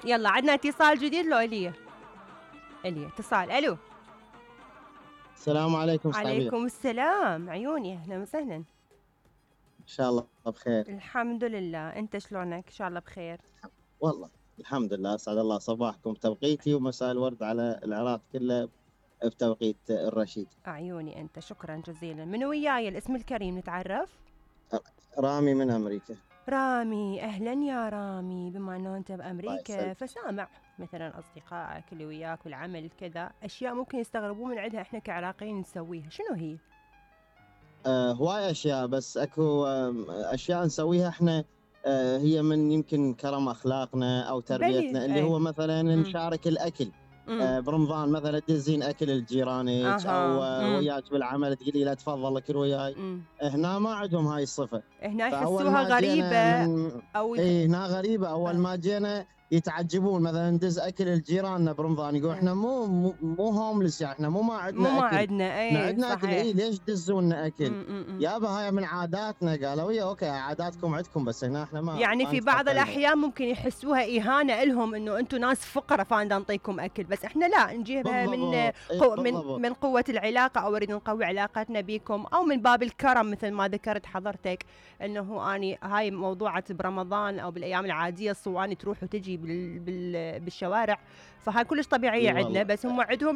يلا عندنا اتصال جديد لو الي اتصال. الو السلام عليكم استاذ عبير. عليكم السلام عيوني، اهلا وسهلا. ان شاء الله بخير. الحمد لله، انت شلونك؟ ان شاء الله بخير. والله الحمد لله، اسعد الله صباحكم بتوقيتي ومساء الورد على العراق كله بتوقيت الرشيد. عيوني انت، شكرا جزيلا. من وياي الاسم الكريم نتعرف؟ رامي من امريكا. رامي، اهلا يا رامي. بما انه انت بامريكا فسامع مثلا اصدقائك اللي وياك والعمل كذا اشياء ممكن يستغربون من عندها احنا كعراقيين نسويها، شنو هي؟ هواي اشياء، بس اكو اشياء نسويها احنا هي من يمكن كرم اخلاقنا او تربيتنا، اللي هو مثلا نشارك الاكل. برمضان مثلا تدزين اكل لجيرانك او وياك بالعمل تقولي له تفضل اكل وياي. هنا ما عندهم هاي الصفه، هنا يحسوها غريبه او هنا غريبه. اول ما جينا يتعجبون، مثلا ندز اكل لجيراننا برمضان يقول احنا مو هوملس، يعني احنا ما عندنا اكل. عندنا اكل. ليش تدزون اكل؟ يابا هاي من عاداتنا. قالوا يا اوكي عاداتكم عندكم، بس هنا احنا ما. يعني في بعض الاحيان ممكن يحسوها اهانه لهم انه انتم ناس فقراء فانا نعطيكم اكل، بس احنا لا نجيبها من قوه العلاقه، او نريد نقوي علاقتنا بكم، او من باب الكرم مثل ما ذكرت حضرتك انه اني هاي موضوعه برمضان او بالايام العاديه الصواني تروح وتجي بالشوارع، فهاي كلش طبيعيه عندنا، بس هم عندهم